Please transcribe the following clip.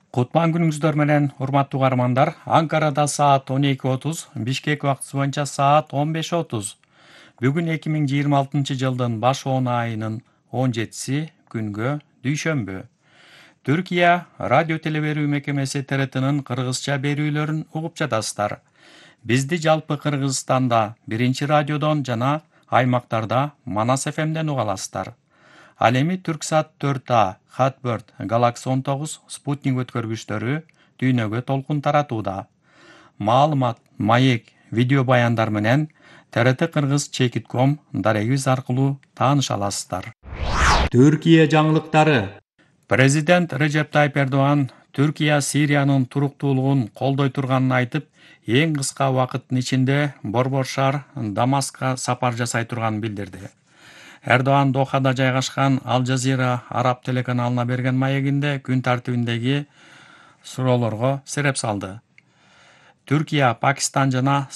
Кутман күнүңүздөр менен, урматтуу каармандар. Анкарада саат 12:30, Бишкек убактысы боюнча саат 15:30. Бүгүн 2026-жылдын баш-10 айынын 17-си күнгө дүйшөмбү. Түркия радио телеберүү мекемеси ТРТнын кыргызча берүүлөрүн угуп жатасыздар. Бизди жалпы Кыргызстанда 1-радиодон жана аймактарда Манас ФМден уга аласыздар. Ал эми Түрксат 4А, Хатберт, Galaxy 19, Спутник өткөргүчтөрү дүйнөгө толкун таратууда. Маалымат, маек, видео баяндар менен ТРТ Кыргыз Чекит.com дарегибиз аркылуу тааныша аласыздар. Түркия жаңылыктары. Президент Режеп Тайып Эрдоган Түркия Сириянын туруктуулугун колдой турганын айтып, эң кыска убакыттын ичинде Борбор шаар Дамаскка сапар жасай турганын билдирди. Эрдоган Дохада жайгашкан Ал Жазира араб телеканалына берген маегинде күн тартибиндеги суроолорго сереп салды. Түркия, Пакистан жана